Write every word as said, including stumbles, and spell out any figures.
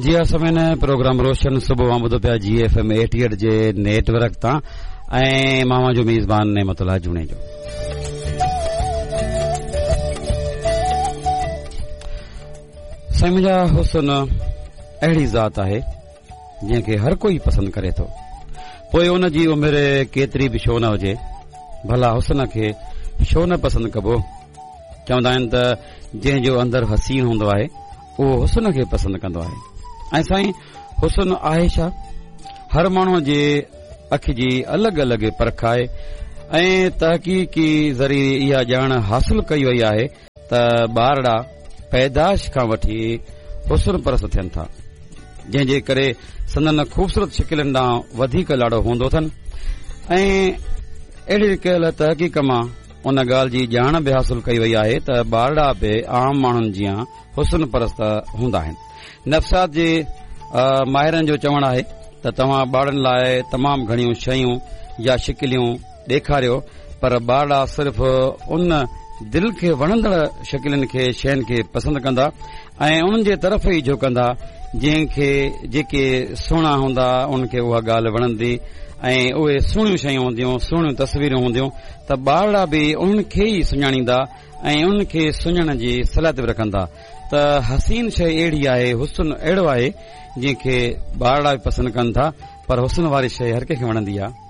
جي ها سامعين، پروگرام روشن صبح اوهان ٻڌو پيا جي ايف ايم ايٽي ايٽ جي نيٽ ورڪ تان ۽ مان اوهان جو ميزبان نعمت الله جوڻيجو. سائين منهنجا، حسن اهڙي ذات آهي جنهن کي هر ڪوئي پسند ڪري ٿو، پوء ان جي عمر ڪيتري به ڇو نه هجي. ڀلا حسن کي ڇو نه پسند ڪبو؟ چوندا آهن ته جنهن جو اندر حسين هوندو آهي اهو حسن کي پسند ڪندو آهي. ۽ سائين حسن آهي ڇا؟ هر ماڻهوء جي اک جي الڳ الڳ پرک آهي ۽ تحقيقي ذريعي اها ڄاڻ حاصل ڪئي وئي آهي ته ٻارڙا پيدائش کان وٺي حسن پرست ٿين ٿا، جنهن جي ڪري سندن خوبصورت شڪلين ڏانهن وڌيڪ لاڙو هوندو اٿن. ۽ اهڙي ڪيل تحقيق مان ان ڳالهه جي ڄاڻ به حاصل ڪئي وئي آهي ته ٻارڙا به عام ماڻهن جيان حسن پرست هوندا آهن. نفسيات جي ماهرن جو چوڻ آهي ته توهان ٻارڙن لاء تمام گهڻيون شيون يا شڪليون ڏيکاريو، پر ٻارڙا صرف ان دل کي وڻندڙ شڪلين کي، شين کي پسند ڪندا ۽ انهن جي طرف ئي جهڪندا. جنهن کي جيڪي سهڻا هوندا انهن کي اها ڳالهه وڻندي ۽ اهي سهڻيون شيون هونديون، سهڻيون تصويرون هونديون ته ٻارڙا به انهن کي ئي سڃاڻيندا ۽ انهن کي سڃاڻڻ جي صلاحيت به رکندا. ته حسين شيء اهڙي آهي، حسن اهڙو آهي جنهن کي ٻارڙا به پسند ڪن ٿا، پر حسن واري شيء هر ڪنهن کي وڻندي آهي.